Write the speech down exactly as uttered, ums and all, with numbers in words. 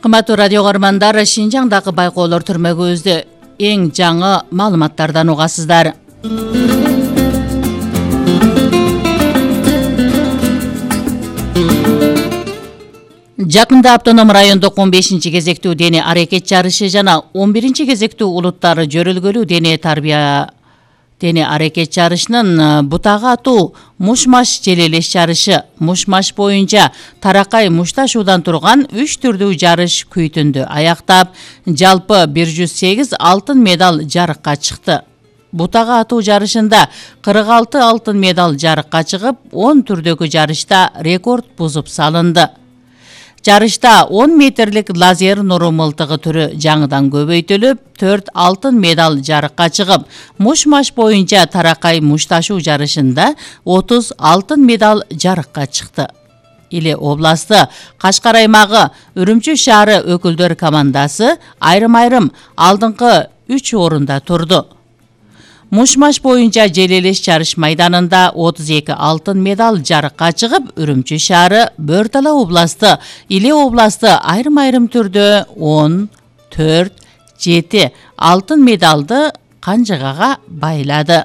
Кымбаттуу радио көрөрмандар, Шинжаңдагы байкоолор түрмөгүбүздү эң жаңы маалыматтардан угасыздар. Жакында автоном райондук он бешинчи кезектүү дене аракет жарышы жана он биринчи кезектүү улуттар жөрөлгөлүү дене тарбия дене аракет жарышынын бутагы атуу муш-маш желелеш жарышы муш-маш боюнча таракай мушташуудан турган үч түрдүү жарыш күйтүндү аяктап, жалпы бир жүз сегиз алтын медаль жарыкка чыкты. Бутагы атуу жарышында кырк алты алтын медаль жарыкка чыгып, он түрдөгү жарышта рекорд бузуп салынды. Жарышта он метрлик лазер нуру мылтыгы түрү жаңыдан көбөйтүлүп, төрт алтын медаль жарыкка чыгып, муш-маш боюнча таракай мушташуу жарышында отуз алтын медаль жарыкка чыкты. Иле областы Кашкар аймагы Үрүмчү шаары өкүлдөр командасы айрым-айрым алдыңкы үч орунда турду. Муш-маш боюнча желелеш жарыш майданында отуз эки алтын медаль жарыкка чыгып, Үрүмчү шаары, Бөр Дала областы, Иле областы айрым-айрым түрдө он төрт жети алтын медалды канжыгага байлады.